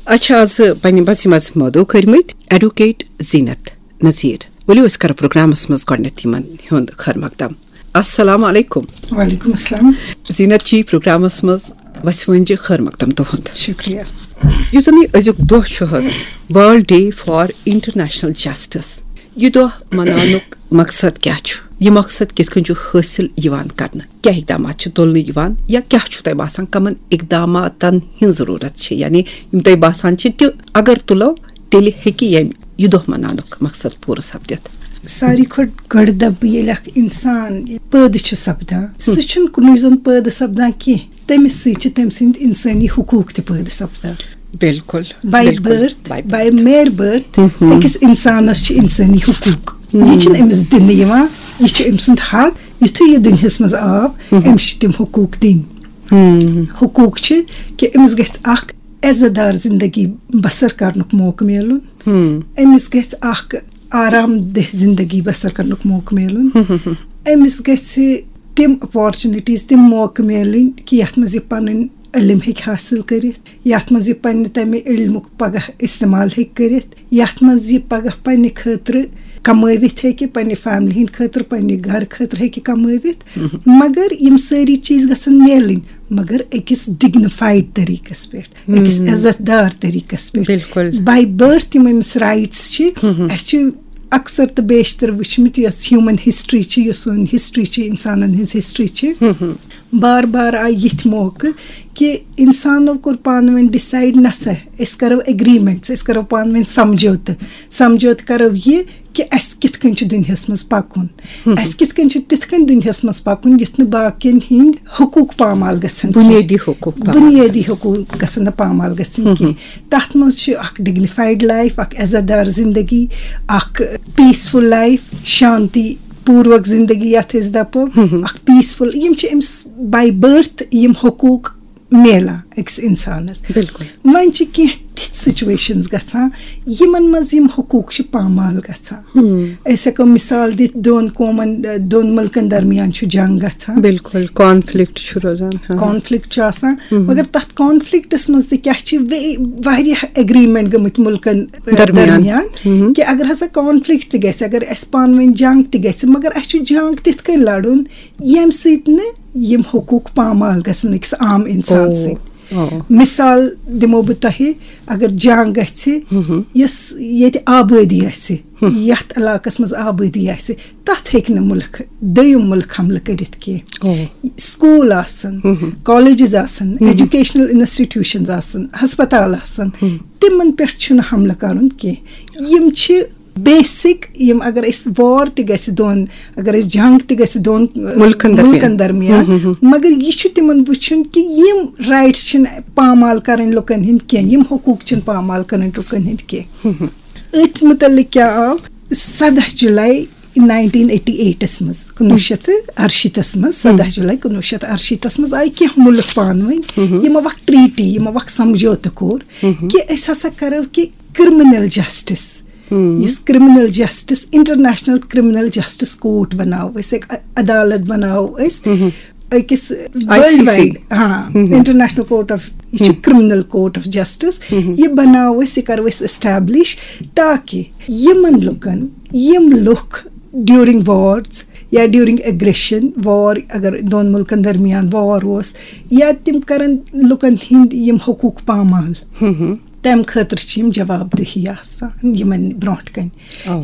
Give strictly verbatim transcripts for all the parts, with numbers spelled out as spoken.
اچھا، آز پننہِ بسہِ منٛز مٲدو کٔرمٕتۍ ایڈوکیٹ زینت نذیر۔ ؤلِو، أسۍ کرو پروگرامس منٛز گۄڈٕنیتھ یِمن ہُنٛد خٲر مقدم۔ السلام علیکم۔ وعلیکم السلام۔ زینت جی، پروگرامس منٛز وسہِ وٲنجہِ خٲر مقدم تُہُنٛد۔ شُکریہ۔ یُس زن یہِ أزیُک دۄہ چھُ حظ، World Day for International Justice، یہِ دۄہ مناونُک مقصد کیٛاہ چھُ؟ یہِ مقصد کِتھ کٔنۍ چھُ حٲصِل یِوان کرنہٕ؟ کیٛاہ اقدامات چھِ تُلنہٕ یِوان یا کیٛاہ چھُ تۄہہِ باسان، کمن اقداماتن ہٕنٛز ضروٗرت چھِ، یعنی یِم تۄہہِ باسان چھِ کہِ اگر تُلو، تیٚلہِ ہیٚکہِ ییٚمہِ یہِ دۄہ مناونُک مقصد پوٗرٕ سپدِتھ؟ ساروی کھۄتہٕ گۄڈٕ دَپہٕ بہٕ، ییٚلہِ اکھ اِنسان پٲدٕ چھُ سپدان، سُہ چھُنہٕ کُنُے زوٚن پٲدٕ سپدان کینٛہہ، تٔمِس سۭتۍ چھِ تٔمۍ سٕنٛدۍ اِنسٲنی حقوٗق تہِ پٲدٕ سپدان۔ بِلکُل، باے بِلکُل، بٔرتھ، باے باے بٔرتھ۔ میر بٔرتھ، ہم، ہم۔ أکِس اِنسانَس چھِ اِنسٲنی حقوٗق۔ ہم۔ یہِ چھِنہٕ أمِس دِنہٕ یِوان، یہِ چھُ أمۍ سُنٛد حق۔ یُتھُے یہِ دُنیاہَس منٛز آو، ہم۔ أمِس چھِ تِم حقوٗق دِنۍ۔ ہم۔ حقوٗق چھِ کہِ أمِس گژھِ اَکھ عزت دار زندگی بسر کرنُک موقعہٕ میلُن۔ ہم۔ أمِس گژھِ اَکھ آرام دہ زندگی بسر کرنُک موقعہٕ میلُن۔ ہم، ہم، ہم۔ أمِس گژھِ تِم اپارچُنِٹیٖز، تِم موقعہٕ میلٕنۍ کہِ یَتھ منٛز یہِ پَنٕنۍ علم ہیٚکہِ حٲصِل کٔرِتھ، یَتھ منٛز یہِ پننہِ تَمہِ علمُک پگاہ استعمال ہیٚکہِ کٔرِتھ، یَتھ منٛز یہِ پگاہ پننہِ خٲطرٕ کمٲوِتھ ہیٚکہِ، پننہِ فیملی ہِنٛدِ خٲطرٕ، پننہِ گرٕ خٲطرٕ ہیٚکہِ کمٲوِتھ۔ مگر یِم سٲری چیٖز گژھن میلٕنۍ، مگر أکِس ڈگنیفایڈ طریٖقس پٮ۪ٹھ، أکِس عزت دار طریٖقس پٮ۪ٹھ۔ بِلکُل۔ باے بٔرتھ یِم أمِس رایٹس چھِ، اَسہِ چھِ اکثر تہٕ بیشتر وٕچھمٕتۍ، یۄس ہیوٗمن ہسٹری چھِ، یۄس سٲنۍ ہسٹری چھِ، اِنسانن ہٕنٛز ہسٹری چھِ، بار بار آیہِ یِتھۍ موقعہٕ کہِ اِنسانو کوٚر پانہٕ ؤنۍ ڈِسایڈ، نہ سا، أسۍ کرو ایگریمنٹس، أسۍ کرو پانہٕ ؤنۍ سمجھوتہٕ۔ سمجھوتہٕ کرو یہِ کہِ اَسہِ کِتھ کٔنۍ چھُ دُنیاہَس منٛز پَکُن، اَسہِ کِتھ کٔنۍ چھُ تِتھ کٔنۍ دُنیاہَس منٛز پَکُن یُتھ نہٕ باقین ہِنٛدۍ حقوٗق پامال گژھن کینٛہہ۔ بُنیٲدی حقوٗق پامال بُنیٲدی حقوٗق گژھن نہٕ پامال گژھن کینٛہہ۔ تَتھ منٛز چھُ اکھ ڈگنیفایڈ لایف، اکھ عزت دار زندگی، اکھ پیسفل لایف، شانتی پوٗروک زندگی یَتھ أسۍ دَپو، اکھ پیسفل، یِم چھِ أمِس باے بٔرتھ یِم حقوٗق میلان أکِس اِنسانَس۔ بِلکُل۔ وۄنۍ چھِ کینٛہہ تِتھۍ سچویشنز گژھان، یِمن منٛز یِم حقوٗق چھِ پامال گژھان۔ أسۍ ہٮ۪کو مثال دِتھ، دۄن قومن، دۄن مُلکن درمیان چھُ جنگ گژھان۔ بِلکُل، کانفلکٹ چھُ روزان۔ کانفلکٹ چھُ آسان، مگر تتھ کانفلکٹس منٛز تہِ کیٛاہ چھِ، وے-، واریاہ ایگریمنٹ گٔمٕتۍ مُلکن، درمیان۔ درمیان، کہِ اگر ہسا کانفلکٹ تہِ گژھِ، اگر اسہِ پانہٕ ؤنۍ جنگ تہِ گژھِ، مگر اسہِ چھُ جنگ تِتھ کٔنۍ لڑُن ییٚمہِ سۭتۍ نہٕ یِم حقوٗق پامال گژھن أکِس عام اِنسان سٕنٛدۍ۔ مثال دِمو بہٕ تۄہہِ، اگر جنگ گژھِ، یۄس ییٚتہِ آبٲدی آسہِ، یَتھ علاقس منٛز آبٲدی آسہِ، تَتھ ہیٚکہِ نہٕ مُلک، دوٚیُم مُلک حملہٕ کٔرِتھ کینٛہہ۔ سکوٗل آسن، کالجز آسن، ایجوکیشنل انسٹیٹیوشنز آسن، ہسپتال آسن، تِمن پٮ۪ٹھ چھُنہٕ حملہٕ کرُن کینٛہہ۔ یِم چھِ بیسک، یِم اگر أسۍ وار تہِ گژھِ دۄن، اگر أسۍ جنگ تہِ گژھِ دۄن مُلکن درمیان۔ مُلکن درمیان، مگر یہِ چھُ تِمن وٕچھُن کہِ یِم رایٹس چھِنہٕ پامال کرٕنۍ لُکن ہٕنٛدۍ کینٛہہ، یِم حقوٗق چھِنہٕ پامال کرٕنۍ لُکن ہٕنٛدۍ کینٛہہ۔ أتھۍ مُتعلق کیٛاہ آو؟ سداہ جُلے ناینٹیٖن ایٹی ایٹس منٛز، کُنوُہ شیٚتھ تہٕ ارشیٖتس منٛز، سداہ جُلے کُنوُہ شیٚتھ تہٕ ارشیٖتس منٛز آیہِ کینٛہہ مُلک پانہٕ ؤنۍ، یِمو اکھ ٹریٖٹی، یِمو اکھ سمجھوتہٕ کوٚر کہِ أسۍ ہسا کرو کہِ کرمنل جسٹس، یُس criminal justice, international criminal justice court بناوو أسۍ، اکھ ع-، عدالت بناوو أسۍ، أکِس ورلڈ وایڈ، ہاں، انٹرنیشنل کورٹ آف، یہِ چھُ کرمنل کورٹ آف جسٹس، یہِ بناوو أسۍ، یہِ کرو أسۍ اسٹیبلش، تاکہِ یِمن لُکن، یِم لُکھ ڈیورنگ وارز یا ڈیورنگ اگریشن وار، اگر دۄن مُلکن درمیان وار اوس، یا تِم کرن لُکن ہٕنٛدۍ یِم حقوٗق پامال، تَمہِ خٲطرٕ چھِ یِم جواب دہی آسان یِمن برونٛٹھ کَنہِ۔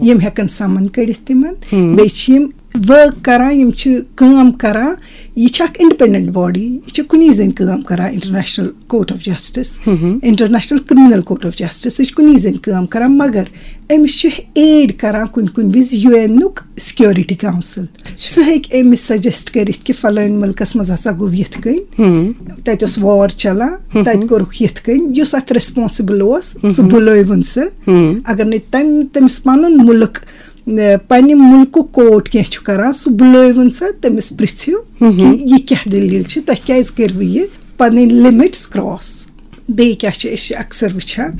یِم ہٮ۪کن سمن کٔڑِتھ تِمن۔ بیٚیہِ چھِ یِم ورک کران، یِم چھِ کٲم کران۔ یہِ چھِ اکھ انڈیپینڈنٹ باڈی، یہِ چھِ کُنی زٔنۍ کٲم کران، international court of justice, international criminal court of justice, یہِ چھِ کُنی زٔنۍ کٲم کران، مگر أمِس چھُ ایڈ کران کُنہِ کُنہِ وِزِ یو اینُک سیکورٹی کاؤنسل۔ سُہ ہیٚکہِ أمِس سجیسٹ کٔرِتھ کہِ فلٲنۍ مُلکس منٛز ہسا گوٚو یِتھ کٔنۍ، تتہِ اوس وار چلان، تتہِ کوٚرُکھ یِتھ کٔنۍ، یُس اتھ ریسپانسبل اوس، سُہ بُلٲوُن سُہ۔ اگر نہٕ تمہِ، تٔمِس پنُن مُلک، ا، پننہِ مُلکُک کورٹ کینٛہہ چھُ کران، سُہ بُلٲوُن سا، تٔمِس پرژھِو کہِ یہِ کیٛاہ دٔلیٖل چھِ، تۄہہِ کیٛازِ کٔروٕ یہِ پنٕنۍ لِمٹس کراس۔ بیٚیہِ کیٛاہ چھِ، أسۍ چھِ اکثر وٕچھان،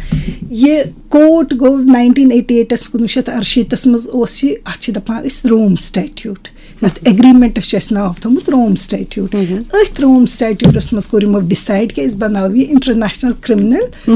یہِ کورٹ گوٚو ناینٹیٖن ایٹی ایٹس، کُنوُہ شیٚتھ ارشیٖتس منٛز اوس یہِ، اتھ چھِ دپان أسۍ روم سٹیچوٗٹ۔ تَتھ ایگریمنٹَس چھُ اَسہِ ناو تھوٚمُت روم سٹیچوٗٹ۔ أتھۍ روم سٹیچوٗٹَس منٛز کوٚر یِمو ڈِسایڈ کہِ أسۍ بَناوو یہِ انٹرنیشنل کرمنل